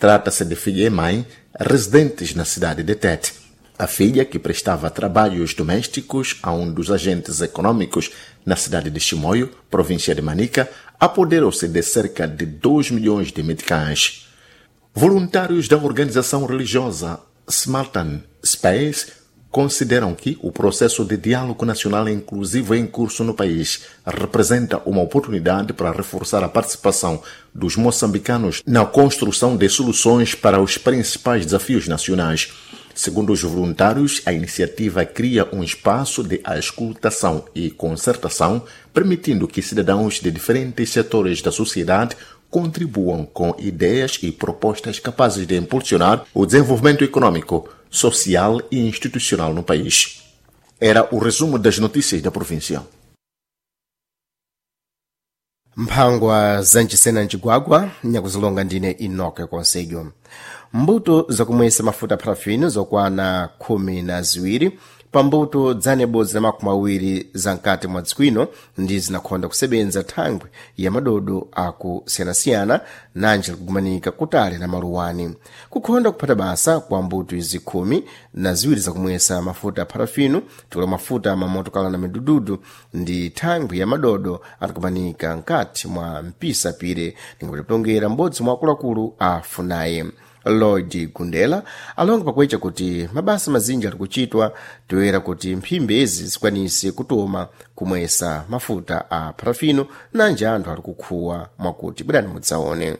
Trata-se de filha e mãe, residentes na cidade de Tete. A filha, que prestava trabalhos domésticos a um dos agentes econômicos na cidade de Chimoio, província de Manica, apoderou-se de cerca de 2 milhões de meticais. Voluntários da organização religiosa Smartan Space consideram que o processo de diálogo nacional inclusivo em curso no país representa uma oportunidade para reforçar a participação dos moçambicanos na construção de soluções para os principais desafios nacionais. Segundo os voluntários, a iniciativa cria um espaço de auscultação e concertação, permitindo que cidadãos de diferentes setores da sociedade contribuam com ideias e propostas capazes de impulsionar o desenvolvimento econômico, social e institucional no país. Era o resumo das notícias da província. Mphangwa zancisena mcigwagwa nyakuzilonga ndine Enoke Conselho. Mbuto zakumwesa mafuta parafini zokwana 12 pambuto dzanebodzi na makumi awiri za mkati mwa dziko ndi zinakhonda kusebenza thangwi ya madodo akusiyanasiyana nanji likugumanika kutali na maluwani. Kukhonda kuphata basa kwa mbuto izi 12 zakumwesa mafuta a parafino tikula mafuta mamotokala na midududu ndi thangwi ya madodo atikumanika mkati mwa mpisa pire ndingapatipilongera m'bodzi mwa akuluakulu a Funaye. Lloyd Gundela alonga pakuecha kuti mabasa mazinji ali kuchitwa toyera kuti mphimbi izi zikwanise kutoma kumwesa mafuta a parafino nanji anthu ali kukhuwa mwakuti bwerani mudzaone.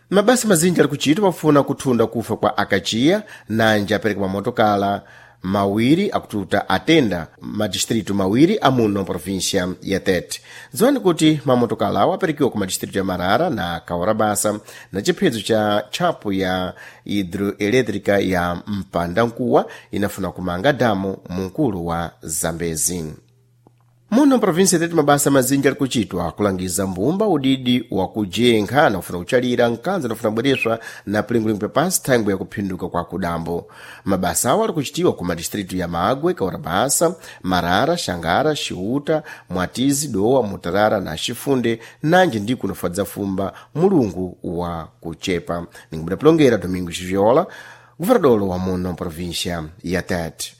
Mabasa mazinji ali kuchitwa pofuna kuthunda kufa kwa akachiya nanji apereka mamotokala mawiri akututa atenda madistritu mawiri amuno província ya Tete. Dziwani kuti mamotokala awo aperekiwa ku madistritu ya Marara na Kaurabasa na chiphedzo cha tchapo ya hidroelétrica ya Mpandankuwa inafuna kumanga damu munkulu wa Zambezi. Muno mprovinsi tete mabasa mazinji ali kuchitwa kulangiza mbumba udidi wa kujenkha na kufuna kuchalira mkanzo nafuna kubwereswa na pilingulingu papansi thangwi ya kuphinduka kwa kudambo. Mabasa awo ali kuchitiwa ku madistritu ya Magwe, Kaurabasa, Marara, Xangara, Xiuta, Mwatizi, Dowa, Mutarara na Xifunde nanji ndi kunofadza fumba mulungu wa kuchepa. Ningubudapilongera Domingo Xiviola, guvernadolo wa muno mprovinsia ya Tete.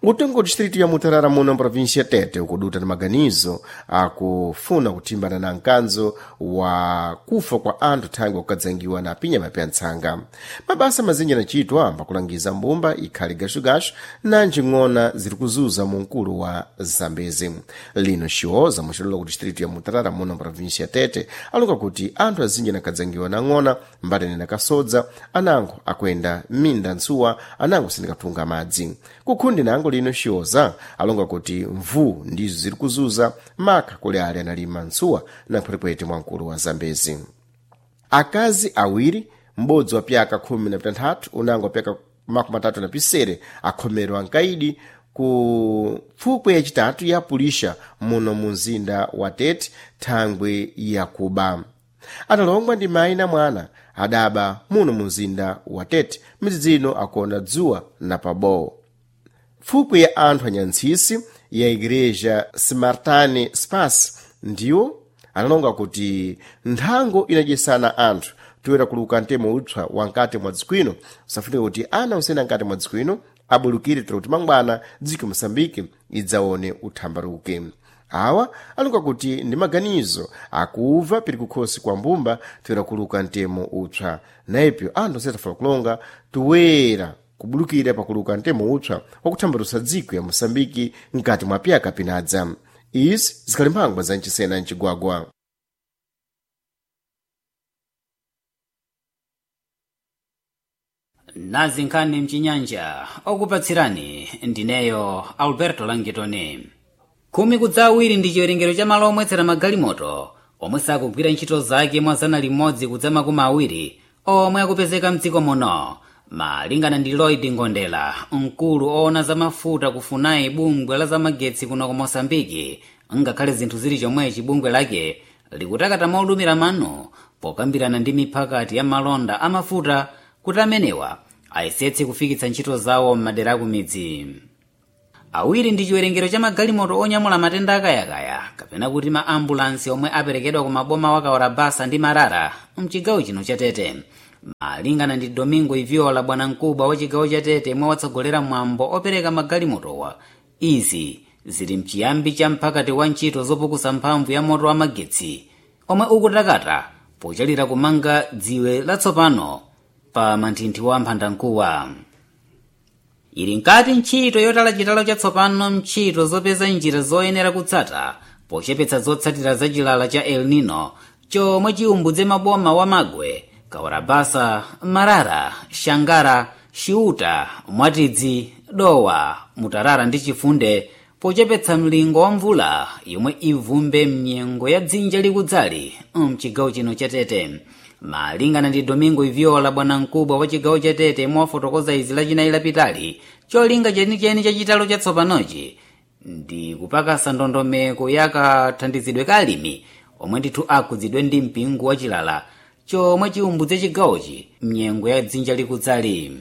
Utengo distrito ya Mutarara muno mprovinsia ya Tete ukuduta na maganizo akufuna kuthimbana na mkanzo wa kufa kwa anthu thangwi kukadzangiwa na pinyama pya ntsanga. Mabasa mazinji anachitwa pakulangiza mbumba ikhali gashugashu nanji ng'ona ziri kuzuza mu mkulu wa Zambezi. Lino Xioza muxilolo ku distrito ya Mutarara muno mprovinsia ya Tete alonga kuti anthu azinji anakadzangiwa na ng'ona mbatene na kasodza anango akuyenda minda ntsuwa anango sindikatunga madzi. Kukhundi nango lino Xioza alonga kuti mvu ndizo ziri kuzuza maka kuli ali analima ntsuwa na mphwetephwete mwa mkulu wa Zambezi. Akazi awiri m'bodzi wa pyaka 16 unango wa pyaka 37 akhomerwa nkaidi ku pfukwe yachitatu ya pulisha muno mu mzinda wa Tete thangwi yakuba. Atalongwa ndi mayi na mwana adaba muno mu mzinda wa Tete midzidzino akuona dzuwa na pabowo. Pfukwe ya anthu anyantsisi ya igreja Smartane Spas ndiwo analonga kuti nthango inadyesana anthu toyera kuluka mtemo utsa wa mkati mwa dziko ino safunika kuti ana osena mkati mwa dziko ino abulukire tero kuti mangwana dziko Moçambique idzaone uthambaruke. Awa alonga kuti ndi maganizo akuva piri kukhosi kwa mbumba toyera kuluka mtemo utsa naipyo anthu osatafuna kulonga toyera kubulukira pakuluka mtemo utsa wakuthambalusa dziko ya Moçambique mkati mwa pyaka pinadza. Izi zikhali mphangwa za mchisena mcigwagwa. Nazi nkhani mchinyanja okupatsirani ndineyo Alberto Langitoni. 17 ndi chiwerengero cha malo omwetsera magalimoto omwe sakugwira ntchito zake mwa 120 omwe akupezeka mdziko muno. Malingana ndi Lloyd Ngondela, mkulu oona za mafuta kufunayi bungwe la zamagetsi kuno ku Mosambiki, ngakhale zinthu zili chomwechi bungwe lake likutakata molumira mano pokambirana ndi miphakati ya malonda amafuta kuti amenewa ayesetse kufikitsa ntchito zawo m'madera akumidzi. 2 ndi chiwerengero cha magalimoto onyamula matenda akayakaya kapena kuti ma ambulansi omwe aperekedwa ku maboma wa Kaorabasa ndi Marara mchigawo chino cha Tete. Malingana ndi Domingo Iviola, bwanamkubwa wa chigawo cha Tete mwe watsogolera mwambo opereka magalimotowa, izi zili mchiyambi cha mphakati wa ntchito zopukusa mphamvu ya moto wa magetsi omwe ukutakata pochalira kumanga dziwe latsopano pa manthinthi wa mphandankuwa. Ili nkati ntchito yotala chitalo chatsopano ntchito zopeza njira zoyenera kutsata pochepetsa zotsatira za chilala cha El Nino chomwe chiumbudze maboma wa Magwe, Kawarabasa, Marara, Shangara, Chiuta, Mwatidzi, Dowa, Mutarara ndi Chifunde, pochepetsa mlingo wa mvula yomwe ivumbe mnyengo ya dzinja likudzali mchigawo chino cha Tete. Malingana ndi Domingo Iviola, bwanamkubwa wa chigawo cha Tete mwafotokoza izi lachinayi lapitali, cholinga chenicheni cha chitalo chatsopanochi ndi kupakasa ndondomeko ya kathandizidwe ka alimi omwe ndithu akhudzidwe ndi mpingo wa chilala chomwe chiumbudze chigawochi mnyengo ya dzinja likudzali.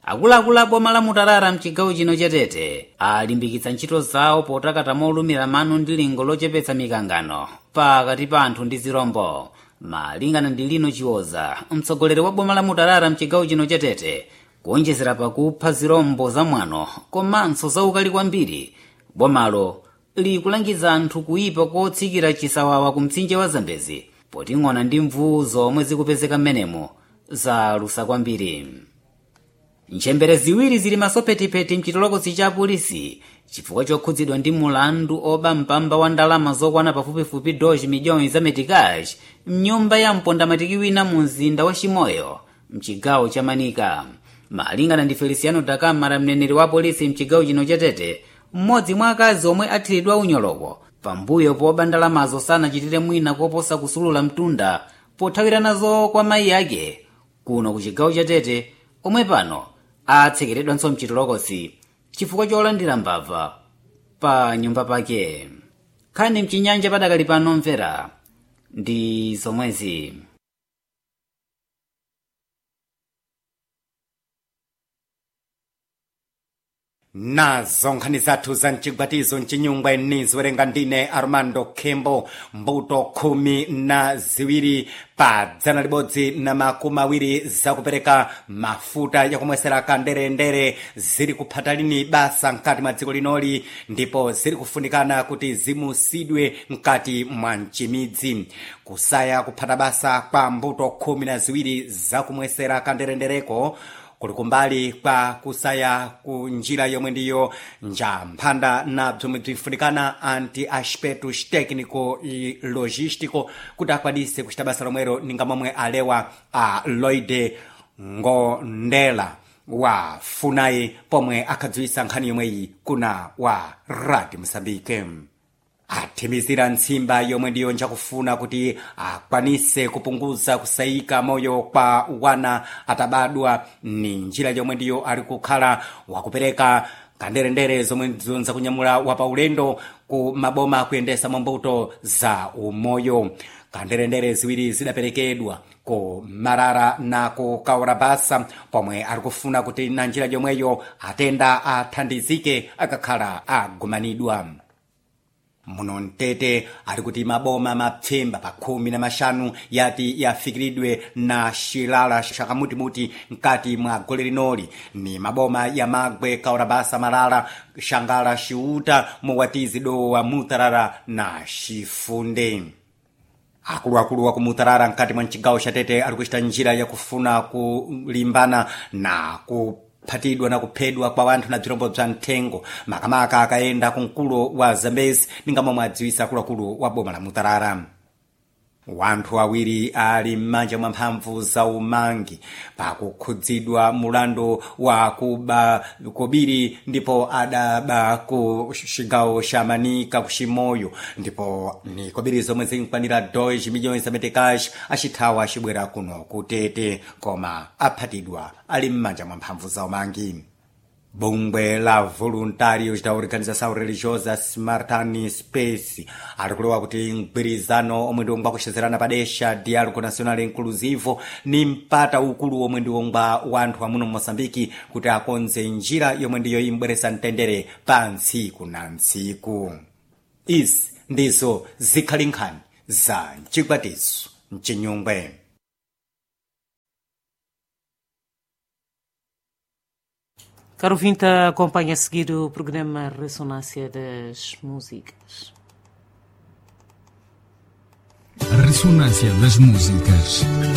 Akuluakulu a boma la Mutarara mchigawo chino cha Tete alimbikitsa ntchito zawo potakata molumira mano ndi lingo lochepetsa mikangano pakati pa anthu ndi zirombo. Malingana ndi Lino Chiwoza, mtsogoleri wa boma la Mutarara mchigawo chino cha Tete, kuonjezera pakupha zirombo zamwano komanso zaukali kwambiri, bomalo likulangiza anthu kuyipa kotsikira chisawawa ku mtsinje wa Zambezi, poting'ona ndi mvuu zomwe zikupezeka m'menemo zalusa kwambiri. Ntchembere ziwiri zili masophetipeti mchitolokosi cha apolisi chifukwa chokhudzidwa ndi mulandu oba mpamba wa ndalama zokwana pafupifupi 2 miliyoni za metikash mnyumba ya mpondamatiki wina mu mzinda wa Chimoyo mchigawo cha Manika. Malingana ndi Feliciano Dakamara, mneneri wa polisi mchigawo chino cha Tete, mmodzi mwa akazi omwe athiridwa unyoloko pambuyo poba ndalamazo sanachitire mwina koposa kusulula mtunda pothawira nazo kwa mayi ake kuno ku chigawo cha Tete, omwe pano atsekeredwanso mchitolokosi chifukwa cholandira mbava pa nyumba pake. Nkhani mchinyanja padakali pano mvera ndi zomwezi. Nazo nkhani zathu za mchigwatizo mchinyungwe niziwerenga ndine Armando Khembo. Mbuto 12 pa 120 zakupereka mafuta yakumwesera kanderendere ziri kuphata lini basa mkati mwa dziko linoli, ndipo ziri kufunikana kuti zimusidwe mkati mwa mchimidzi. Kusaya kuphata basa kwa mbuto 12 zakumwesera kanderendereko kuli kumbali kwa kusaya ku njira yomwe ndiyo njamphanda na bzomwe bzinfunikana anti aspectos técnico e logístico kuti akwanise kuchita basa lomwero, ninga momwe alewa a Lloyd Ngondela wa Funai pomwe akhadziwisa nkhani yomweyi kuna wa Radio Mosambike. Athimizira ntsimba yomwe ndiyo njakufuna kuti akwanise kupunguza kusayika moyo kwa wana atabadwa, ni njira yomwe ndiyo ali kukhala wakupereka kanderendere zomwe zakunyamula wapaulendo ku maboma kuyendesa mwambuto za umoyo. Kanderendere ziwiri zidaperekedwa ku Marara na ku Kaurabasa pomwe ari kufuna kuti na njira yomweyo atenda athandizike akakhala agumanidwa. Muno mtete ari kuti maboma mapfemba pa 15 yati yafikiridwe na xilala xakamutimuti mkati mwa gole linoli, ni maboma ya Magwe, Kaurabasa, Marara, Xangala, Xiuta, Muwatizi, Dowa, Mutarara na Xifunde. Akuluakulu wa kumutarara mkati mwa mcigawo xa Tete ari kuchita njira yakufuna kulimbana na ku kuphatidwa na kuphedwa kwa wanthu na bzirombo bza mthengo, makamaka akayenda kumkulo wa Zambezi, ninga momwe adziwisa akuluakulu wa boma la Mutarara. Wanthu awiri ali m'manja mwa mphamvu za umangi pakukhudzidwa mulandu wa kuba kobiri, ndipo adaba ku cigawo xa Manika ku Chimoyo, ndipo ni kobiri zomwe zinkwanira 2 miliyoni za metekash acithawa acibwera kuno kutete, koma aphatidwa ali m'manja mwa mphamvu za umangi. Bungwe la Voluntários da Organização Religiosa Smartan Space ari kulewa kuti mgwirizano omwe ndiwongwa kuxezerana padesha Diálogo Nacional Inclusivo ni mpata ukulu omwe ndiwongwa wanthu amuno mMosambiki kuti akonze njira yomwe ndiyo imbweresa mtendere pa ntsiku na ntsiku. Izi ndizo zikhali nkhani za mchigwatizo mchinyungwe. Caro ouvinte, acompanha a seguir o programa Ressonância das Músicas. Ressonância das Músicas.